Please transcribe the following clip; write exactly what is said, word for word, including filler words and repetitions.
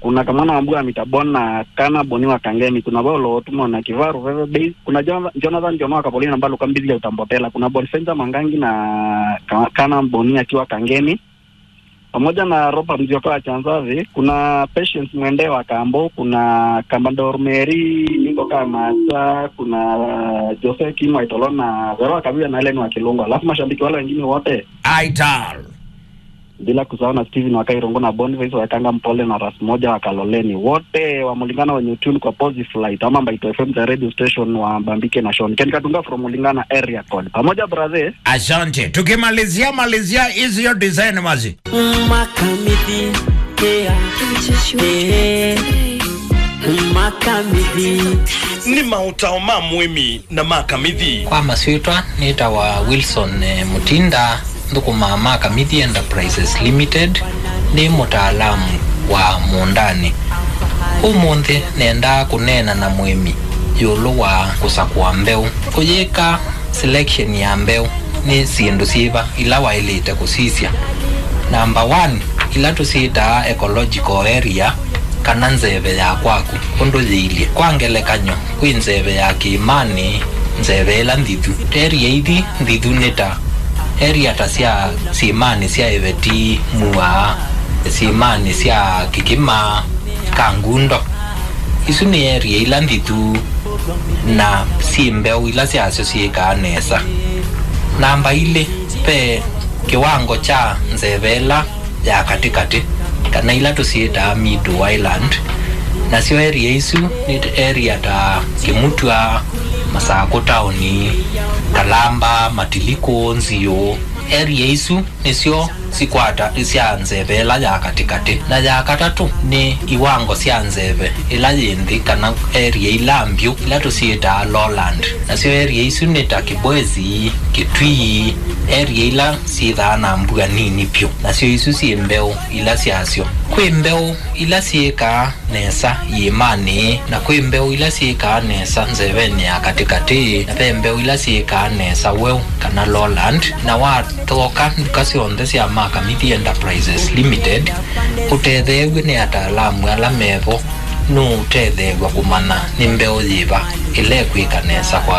Kuna Kamwana wa Mbua Mitabon na Kana Boni wa Kangemi. Kuna Paulo Otumo na Kivaru Veve Base. Kuna Jonathan, Jonathan Jono wa Kapolina Mbalu Kambithi ya Utambotela. Kuna Bonfenza Mangangi na Ka-, Kana Boni akiwa Kangemi. Pamoja na Robert Nzioka wa Chanzavi. Kuna Patience Mwende wa Kambo. Kuna Kambandor Mary, Ningo Kamata. Kuna Jose Kim wa Itolo na Vero wa Kaviwa na Ellen wa Kilungu. Alafu mashabiki wale wengine wote. Aital. Bila kusahau na Steven wa Kairongo na Boniface wa Kanga Mpole na Ras Moja wa Kaloleni. Wote wa Mulingana wenye tune kwa Pozi Flight ama Mbaito F M the radio station wa Mbambike na Sean. Ken Katunga from Mulingana area code. Pamoja brother. Asante. Tukimalizia, malizia hizi yo design mazi. Makamithi, yeah. Eh, Makamithi. Nĩ maũtao ma mũĩmi na Makamithi. Kwa masyĩtwa, nĩtawa Wilson, eh, Mutinda, nthũkũmaa Makamithi Enterprises Limited, nĩ mũtaalamu wa mũũndanĩ. Ũmũnthĩ nendaa kũneena na mũĩmi ĩũlũ wa kũsakũa mbeũ. Ũyĩka selection ya mbeũ, nĩ syĩndũ syĩva ila waĩlĩte kũsisya? Namba one, ila tũsyĩtaa ecological area, kana nzeve ya kwaku ũndũ yĩilye. Kwa ngelekany'o, kwĩ nzeve ya kĩĩmanĩ, nzeve ĩla nthithu. Area ithi nthithu nĩ ta area ta sya syĩmanĩ sya Ĩveti, Mua, syĩmanĩ sya Kĩkĩma, Kangundo. Isu nĩ area ila nthithu na syĩ mbeũ ila syasyo syĩkaa nesa. Namba ilĩ, ve kĩwango kya nzeve ĩla ya katĩkatĩ, kana ila tũsyĩtaa middle island. Nasyo area isu nĩ area ta Kĩmutwa, Masakũ taoni, Kalamba, Matilikũ, Nziũ. Area isu nĩsyo sikwata sya nzeve ĩla ya katĩkatĩ. Na ya katatũ nĩ iwango sya nzeve ĩla yĩ nthĩ, kana area ila mbyũ, ila tũsyĩtaa lowland. Nasyo area isu nĩ ta Kĩbwezi, Kĩtui, area ila syĩthaa na mbua nini vyũ. Nasyo isu syĩ mbeũ ila syasyo. Kwĩ mbeũ ila syĩkaa nesa iĩmanĩ, na kwĩ mbeũ ila syĩkaa nesa nzevenĩ ya katĩkatĩ, na ve mbeũ ila syĩkaa nesa weũ kana lowland. Na wathooka nduka syonthe sya Makamithi Enterprises Limited, ũtetheew'e nĩ ataalamu ala mevo, nũũtetheew'a kũmanya nĩ mbeũ yĩva ĩla ĩkwĩka nesa kwa